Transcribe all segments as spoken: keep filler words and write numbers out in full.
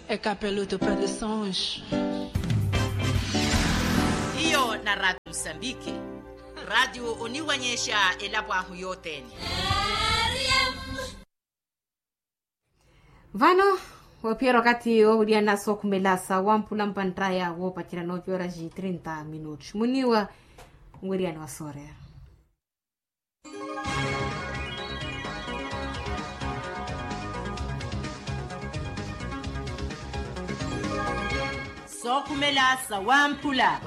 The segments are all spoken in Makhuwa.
Ekapelo tu palisange. Hiyo na radio musambiki. Radio oniwanyexa elapo ahu yothene. Vano waphiyerya okathi owiriyana sookhumela sa wamphula mpanttaya woopacerya noocoora ji trinta minuti muniwa. Nwiriyani wa sooreera. Sookhumela sa wamphula.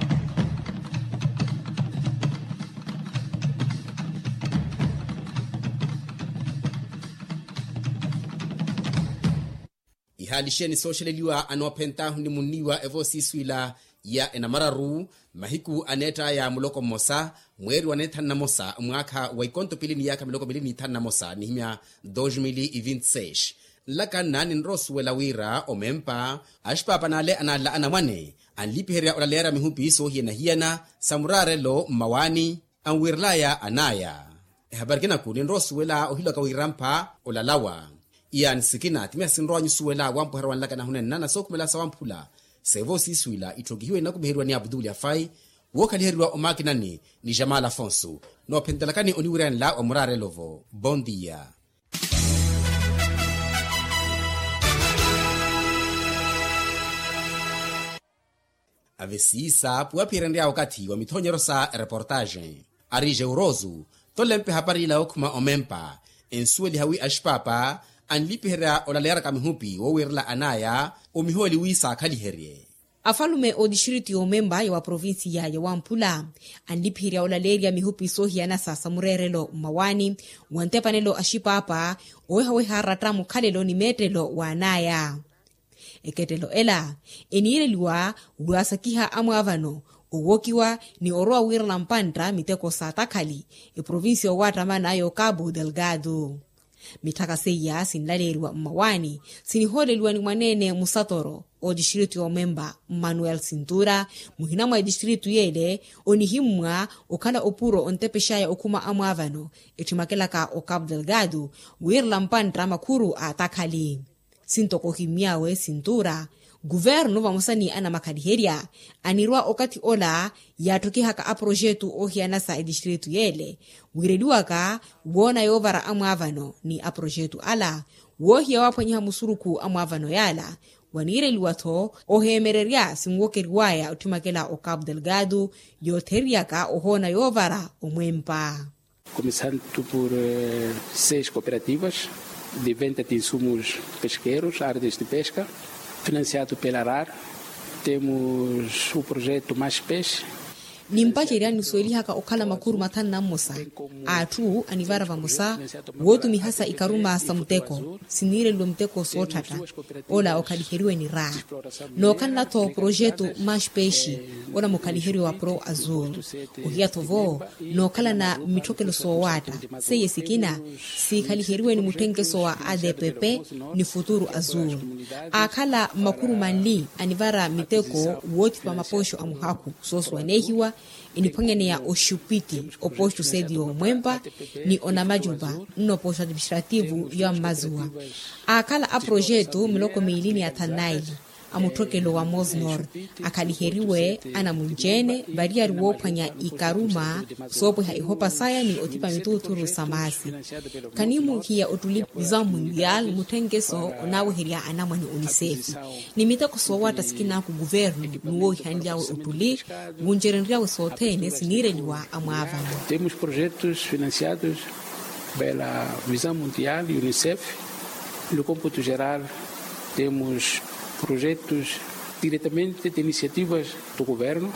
Ihaali xeeni sooxeleliwa anoophent'ahu ni munniwa evoosiiswila ya enamararu mahiku aneett'aya muloko mmosa mweeri wa neethanu na mosa mwaakha wa ikonto pili ni yaakha miloko mili ni ithanu na mosa nihimya dos mil e vinte seis. Nlakanna ninrowa osuwela wira omempa axipaapa n'ale analla anamwane anlipiherya olaleerya mihupi soohiyana-hiyana sa muraarelo mmawaani anwiirel'aya an'aya. Ehapari kinaku ninrowa osuwela ohilwaka wirampha olalawa. Iyaani sikina timiha sinrowanyu osuwela wampweherya wanlakana ahunenna na sookhumela sa wamphula seevoosiiswila itthokihiwe ninakumiheriwa ni abdul yafai wookhaliheriwa omaakinani ni jamal afonso. Noophentelakani oniwiryanela wa muraarelo-vo bondia. Ave siisa puwaphiyerenrya okathi wa mithoonyeryo sa ereportaxe ari jeurosu tolempe hapari ila yookhuma omempa ensuweliha wi axipaapa anlipiherya olaleyaraka mihupi woowiirela an'aya omihooli wi saakhaliherye. Afalume ootixtiritu yoomempa ya wa provincia ya wamphula anlipiherya olaleerya mihupi soohiyana sa samureerelo mmawaani wa ntepanelo axipaapa owehaweha aratta mukhalelo ni meettelo w'an'aya. Ekettelo ela eniireliwa wi asakiha amwaavano owokiwa ni orowa wiirana mpantta miteko sa takhali eprovincia owaattamana yo cabo delgado. Mitthaka seiya sinlaleeriwa mmawaani sinihooleliwa ni mwaneene musatoro ootixtiritu yoomempa mmanuel sintura muhina mwa etixtiritu yeele onihimmwa okhala opuro ontepex'aya okhuma amwaavano ettimakelaka o cabo delgado wiirela mpantta makhuru a takhali. Sintoko ohimmy'awe sintura kuvernu vamosa ni anamakhaliherya anirwa okathi ola yaatthokhihaka aprojetu oohiyana sa etixtiritu yeele wiireliwaka woona yoovara amwaavano ni aprojetu ala woohiya waaphwanyiha musurukhu amwaavano yaala. Waniireliwa-tho oheemererya sinwokeriw'aya otthimakela o cabo delgado yootheriyaka ohoona yoovara omwempa. Começando por seis cooperativas de venda de insumos pesqueiros, artes de pesca, financiado pela rar. Temos o projeto mais peixe. Nimpacerya nisuwelihaka okhala makhuru mathanu na mmosa a atthu anivara vamosa wootumihasa ikaruma sa muteko siniireliwe muteko sootthatta ola okhaliheriwe ni ra. Nookhalana-tho projetu maxpexi ola mukhaliheriwe wa pro azul ohiya-tho vo nookhalana mitthokelo soowaatta seiye sikina siikhaliheryiwe ni mutthenkeso wa adpp ni futuru azul. Aakhala makhuru manli anivara miteko woothipa mapoxo a muhakhu soosuwaneehiwa eniphwanyaneya oxupiti opoxo seti yoomwempa ni onamacupa nnopoxo administrativu ya mmazuwa. Aakhala aprojetu miloko miili ni athanu naili a mutthokelo wa mosnor akhaliheriwe anamunci-ene variyari woophwanya ikaruma soopweha ihopa saya ni othipa mituuthuru sa maasi. Khanimuhiya ottuli vision mundial mutthenkeso onaaweherya anamwane onisefi ni miteko soowaatta sikinaku kuvernu ni woowihanly'awe ottuli wuncerenry'awe sothene siniireliwa amwaavano. Temos projetos financiados pela vision mundial unicef. No computo geral temos projetos diretamente de iniciativas do governo.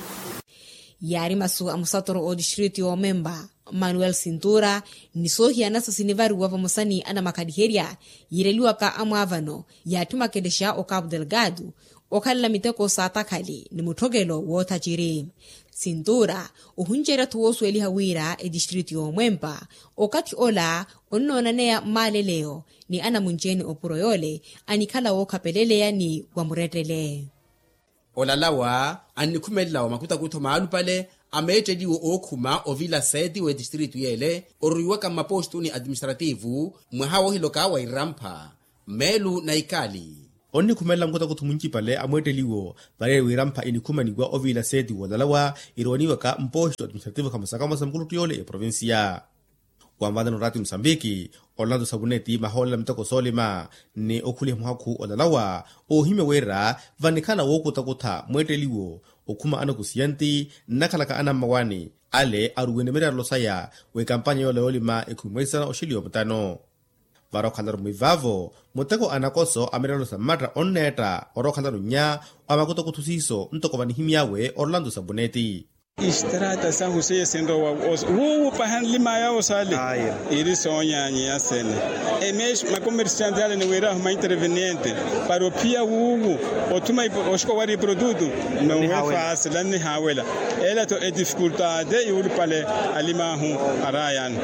Yaari masu a musatoro ootixtiritu yoomempa manuel sintura ni soohiyanasa sinivariwa vamosa ni anamakhaliherya yiireliwaka amwaavano yaattimakelexa o cabo delgado okhalela miteko sa takhali ni mutthokelo woothaciri. Sintura ohuncerya-tho woosuweliha wira etixtiritu yoomwempa okathi ola onnoonaneya mmaaleleyo ni anamunci-ene opuro yoole anikhala wookhapeleleya ni wa murettele. Olalawa annikhumelelawa makutakutho maalupale a meetteliwo ookhuma ovila seeti w'etistiritu yeele orwiwaka mmapoxtu ni administrativu mwaha woohiloka wa irampha mmeelu na ikali. onnikhumelela mukutakuthu muncipale a mweetteliwo. Vale wirampha inikhumaniwa oviila seeti woolalawa irowaniwaka mpooxi administrativo khamosa khamosa mukuluttu yoole eprovincia. Wanvana noraati musambiki, olanto sabuneti mahoolela miteko soolima ni okhuliha muhakhu olalawa, oohimya wira vanikhala wookutakutha mweetteliwo okhuma anakusiyanti nnakhalaka anammawani ale aruwene mireerelo saya w'ekampanya yoola yoolima ekhumi mweisana oxiliwa mutano. Vara okhalaru mwivaavo muteko anakoso a mireerelo sa mmatta onneetta ora okhalaru nnya wa makutakuthu siiso ntoko vanihimy'awe orolanto sabuneti. Istrata sahu seiya sinrowa wuuwu paha nlimaya osaale. Iri soonyanyi yasene. Emeshi makomersiante ale niwirahu mainterveniente para ophiya wuuwu othuma oxiko wari iprodutu. Nowe faasi lannihaawela. Ela to edifikultade yuulupale alimahu arayani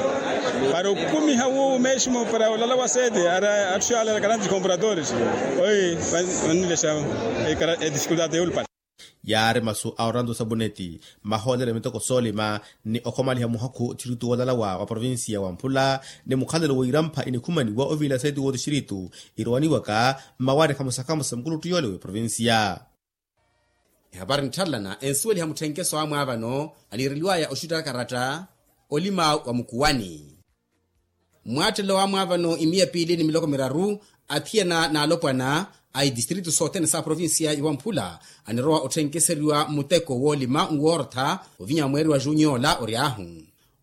para okumiha wuuwu meshimo para olala wa sete. Atthu yaalala karanti compradores oi. Vannilexa edifikultade yuulupale. Yaari masu a oranto sabuneti mahoolelo a miteko soolima ni okhomaliha muhakhu thiritu woolalawa wa provincia wa mphula ni mukhalelo w'irampha inikhumaniwa oviila seeti woothixiritu irowaniwaka mmawari khamosa khamosa mukuluttu yoole w'eprovincia. Ehapari ntthalana ensuweliha mutthenkeso amwaavano aniireliwaya oxuttaka karatta olima wa mukuwani. Mmwaattelo wa mwaavano imiya piili ni miloko miraru athiyana n'alopwana a itistritu sothene sa provincia ya wamphula anirowa otthenkeseryiwa mmuteko woolima nwoortha ovinya mweeri wa juniola ory'ahu.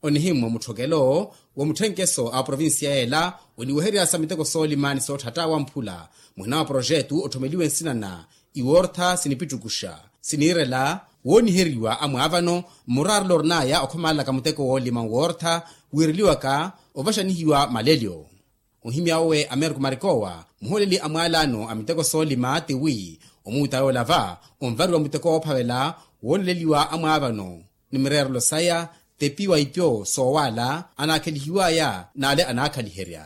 Onihimmwa mutthokelo wa mutthenkeso a provincia yeela oniweherya sa miteko soolima ni sootthatta wamphula muhina wa projetu otthomeliwe nsina na iwoortha sinipittukuxa siniirela wooniheriwa amwaavano mmuraarelo orinaya okhomalelaka muteko woolima nwoortha wiireliwaka ovaxanihiwa malelyo. Ohimya owe ameriko marikowa muhooleli a mwaalaano a miteko soolima tiwi omuuta yoola va onvariwa muteko woophavela wooleleliwa amwaavano ni mireerelo saya tepiwa ipyo soowaala anaakhelihiwaya n'ale anaakhaliherya.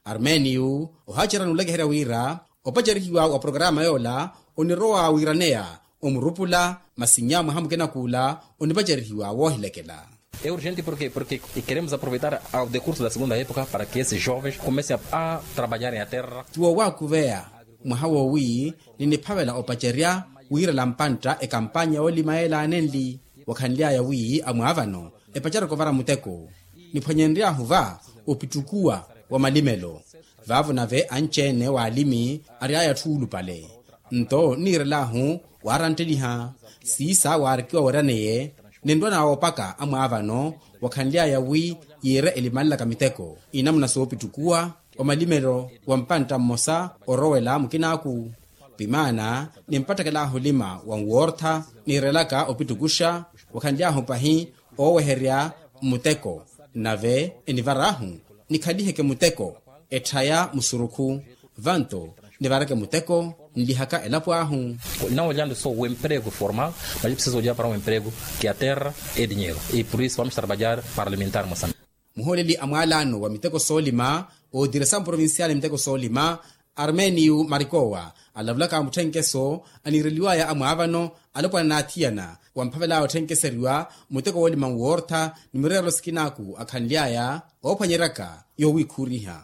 Armênio ohacerya n'ulekeherya wira opacerihiwa wa programa yoola onirowa wiiraneya omurupula masi nnya mwaha mukina kuula onipacerihiwa woohilekela. É urgente porquê porquê queremos aproveitar ao decurso da segunda época para que esses jovens comecem a trabalhar em a terra. Tiwo waakuveya mwaha woowi niniphavela opacerya wiirela mpantta ekampanya yoolima yeela anenli. Wakhanly'aya wi amwaavano epacerya okovara muteko niphwanyenry'ahu va opittukuwa wa malimelo. Vaavo nave anci-ene w'alimi ary'aya atthu oolupale nto nniirel'ahu waarantteliha siisa waarikiwa weraneye ninrwa nawoopaka amwaavano wakhanly'aya wi yiire elimanlaka miteko inamuna soopittukuwa omalimelo wa mpantta mmosa orowela mukinaaku. Pimaana nimpattekel'ahu olima wa nwoortha niirelaka opittukuxa wakhanly'ahu pahi ooweherya muteko nave enivar'ahu nikhaliheke muteko etthaya musurukhu vanto nivareke muteko nlihaka elapo ahu. Não olhando só o emprego formal mas preciso olhar para um emprego que a terra é dinheiro e por isso vamos trabalhar para alimentar moçambique. Muhooleli a mwaalaano wa miteko soolima ootiresa mprovincial miteko soolima armênio marikowa alavulaka mutthenkeso aniireliwaya amwaavano alopwana n'athiyana wamphavel'aya otthenkeseriwa muteko woolima nwoortha ni mireerelo sikinaaku akhanly'aya oophwanyeryaka yoowiikhuuriha.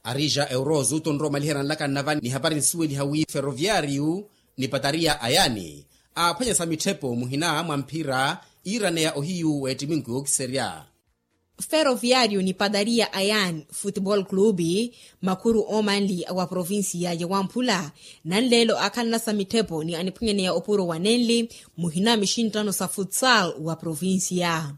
Arija eurozo tonrowa omaliherya nlaka nnava ni hapari nsuweliha wi ferroviariu ni patariya a yaani aaphwanyesa mitthepo muhina mwa mphira iiraneya ohiyu w'ettiminku yookiserya. Ferroviariu ni patariya a yaani futebol clube makhuru oomanli wa provincia ya wamphula nanleelo aakhalanasa mitthepo ni aniphwanyaneya opuro wa nenli muhina mixinttano sa futsal wa provincia.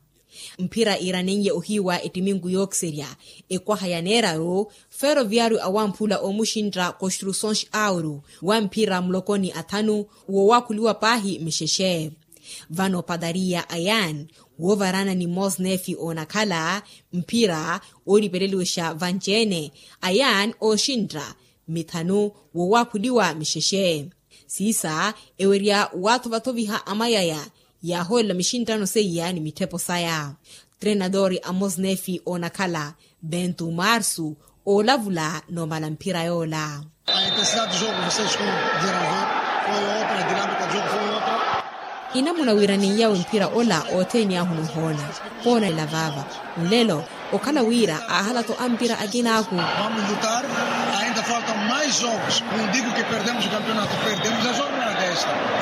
Mphira iiranenye ohiiwa ettiminku yookiserya ekwaha ya neeraru ferroviariu awamphula oomuxintta construções auro wa mphira mulokoni athanu woowakhuliwa paahi mixexe. Vano patariya a yaani woovaraana ni mosnefi oonakhala mphira oolipeleliwexa vanci-ene a yaani ooxintta mithanu woowakhuliwa mixexe. Siisa ewerya waathovathoviha amayaya yaahoolela mixinttano seiya ni mitthepo saya. Trenadori a mosnefi oonakhala bentu marsu oolavula noomala mphira yoola. A intensidade do jogo vocês com deranver foi outra a dinamika do jogo foi outra. Inamuna wiiraniyawe mphira ola othene ahu nihoona. Poona ela vaava nlelo okhala wira aahala-tho ampira akinaahu. Vamos lutar. Ainda faltam mais jogos. Não digo que perdemos o campeonato, perdemos a jornada esta.